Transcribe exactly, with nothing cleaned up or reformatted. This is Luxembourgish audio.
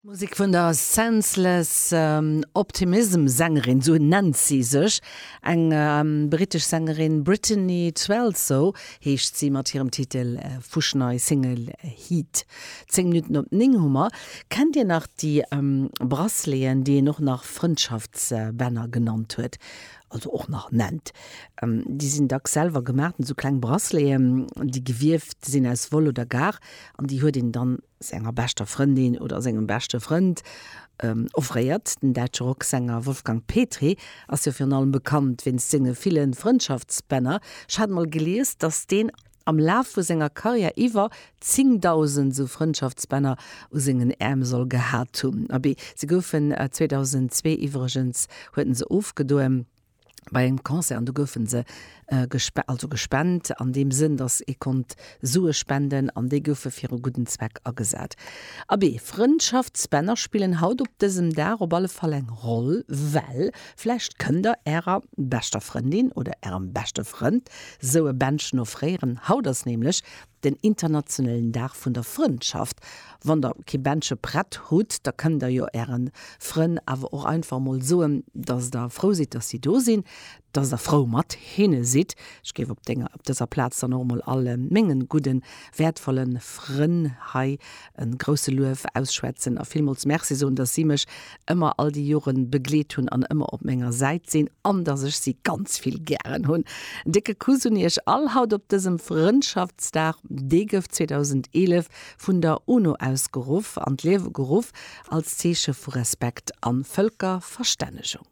Musek vun der Senseless Optimism Sängerin, sou nennt si sech, eng brittesch Sängerin, Brittany Twelso heescht si mat hirem Titel fuschnei Single Heat. Zéng Minutten op néng hu mer. Kennt Dir nach déi Braceleten, déi een och nach Frëndschaftsbänner genannt huet, also och nach nennt? Déi sinn dacks selwer gemaach, sou kleng Braceleten, déi gewieft sinn aus Woll oder Gar an déi huet een dann senger beschter Frëndin oder sengem beschte Frënd offréiert. Den däitsche Rocksänger Wolfgang Petry ass jo virun allem bekannt wéinst senge ville Frëndschaftsbänner. Ech hat mol gelies, dass deen am Laf vu senger Karriär iwwer zéngdausend sou Frëndschaftsbänner u sengen Äerm soll gehat hunn. Abee, se goufen zweedausendzwee iwwregens huet en se ofgedoen bei engem Concert an do goufen se also gespent an deem Sënn, datt ee konnt Sue spenden an déi goufe fir e gudden Zweck agesat. Abee, Frëndschaftsbänner spillen haut op dësem Dag op alle Fall eng Roll, well vläicht kënnt der ärer beschter Frëndin oder ärem beschte Frënd sou e Bändchen offréieren. Haut ass nämlech den internationalen Dag vun der Frëndschaft. Wann der kee Bändche prett hutt, da kënnt der jo äre Frënn awer och einfach mol soen, dass der frou sidd, dass si do sinn, dass der frou mat hinne sidd. Ech géif op denger, op dëser Plaz dann och emol alle mengen gudden, wäertvollen Frënn hei e grousse Luef ausschwätzen a villmools Merci soen, dass si mech ëmmer all déi Joren begleet hunn an ëmmer op menger Säit sinn an dass ech si ganz vill gären hunn. En décke Kuss un iech all haut op dësem Frëndschaftsdag. Dee gouf zweedausendeelef vun der UNO ausgeruff, an d'Liewe geruff als Zeeche vu Respekt a Vëlkerverstännegung.